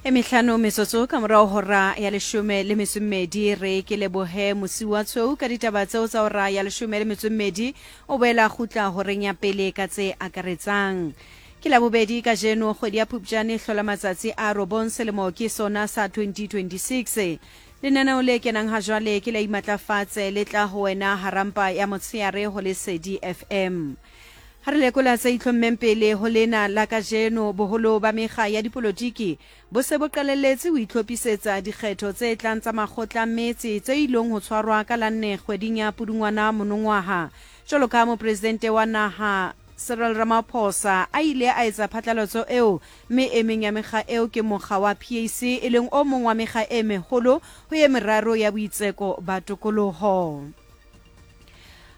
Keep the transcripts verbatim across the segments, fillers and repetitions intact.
E mehlano metsotso ka morao hora ya leshome le metso e mmedi. Re ke lebohe Mosiwa Tshweu ka ditaba tseo tsa hora ya leshome le metso e mmedi. O boela kgutla horeng ya pele ka tse akaretsang. Ke la bobedi kajeno, kgwedi ya Phupjane e hlola matsatsi a robong, selemo ke sona sa twenty twenty-six. Lenaneo le kenang ha jwale ke la Imatlafatse, le tla ho wena harampa ya motshehare ho Lesedi F M. Ha re lekola tse itlhommeng pele ho lena la kajeno, boholo ba mekga ya dipolotiki bo se bo qalelletse ho itlhophisetsa dikgetho tse tlang tsa makgotla metse tse ilong ho tshwarwa ka la nne kgweding ya Pudungwana monongwaha. Jwalo ka mopresidente wa naha Cyril Ramaphosa a ile a etsa phatlalatso eo, mme e meng ya mekga eo ke mokga wa P A C, e leng o mong wa mekga e meholo ho e meraro ya boitseko ba tokoloho.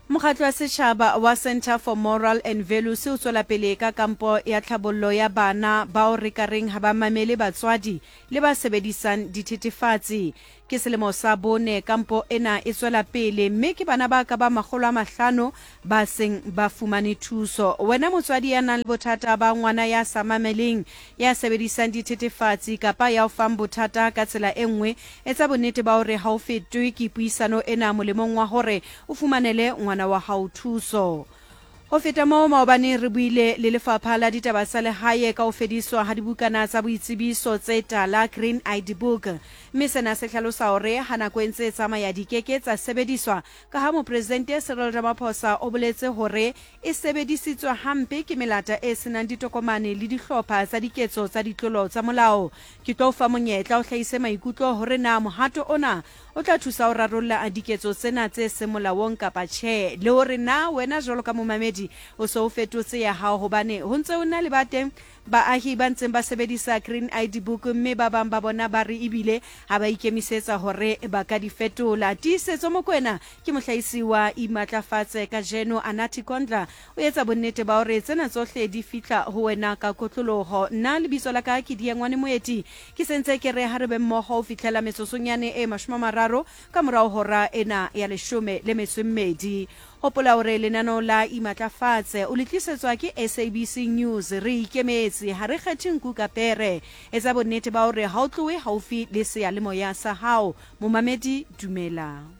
Mokgatlo wa setjhaba wa Center for Moral and Values o tswela pele ka kampo ya tlhabollo ya bana bao re ka reng ha ba mamele batswadi le ba sebedisang dithethefatsi. Ke selemo sa bone kampo ena e tswela pele, mme ke bana ba ka ba makgolo a mahlano ba seng ba fumane thuso. Wena motswadi ya nang le bothata ba ngwana ya sa mameleng, ya sebedisang dithethefatsi kapa ya o fang bothata ka tsela e nngwe, etsa bonnete ba hore ha o fetwe ke puisano ena molemong wa hore o fumanele ngwana wa hao thuso. Ho feta moo, maobane re buile le lefapha la ditaba tsa lehae ka ho fediswa ha dibukana tsa boitsebiso tse tala, Green I D Book. Mme sena se hlalosa hore ha nako e ntse e tsamaya di keke tsa sebediswa, ka ha mopresidente Cyril Ramaphosa o boletse hore e sebedisitswe hampe ke melata e senang ditokomane le dihlopha tsa diketso tsa ditlolo tsa molao. Ke tlo o fa monyetla o hlahise maikutlo hore na mohato ona o tla thusa ho rarolla diketso tsena tse seng molaong kapa tjhe, le hore na wena jwalo ka momamedi o se o fetotse ya hao, hobane ho ntse ho na le ba teng baahi ba ntseng ba sebedisa Green I D Book, mme ba bang ba bona ba re ebile ha ba ikemisetsa hore ba ka di fetola. Tiisetso Mokoena ke mohlahisi wa Imatlafatse kajeno. Anathi Kondla o etsa bonnete ba hore tsena tsohle di fihla ho wena ka kotloloho. Nna lebitso la ka ke Diengwane Moeti, ke sentse ke re ha re be mmoho ho fihlela metsotsonyane e mashome a mararo ka morao hora ena ya leshome le metso e mmedi. Hopola hore lenaneo la Imatlafatse o le tlisetswa ke S A B C News. Re ikemetse, ha re kgethe nku ka pere. Etsa bonnete ba hore ha o tlohe haufi le seyalemoya sa hao. Momamedi, dumela.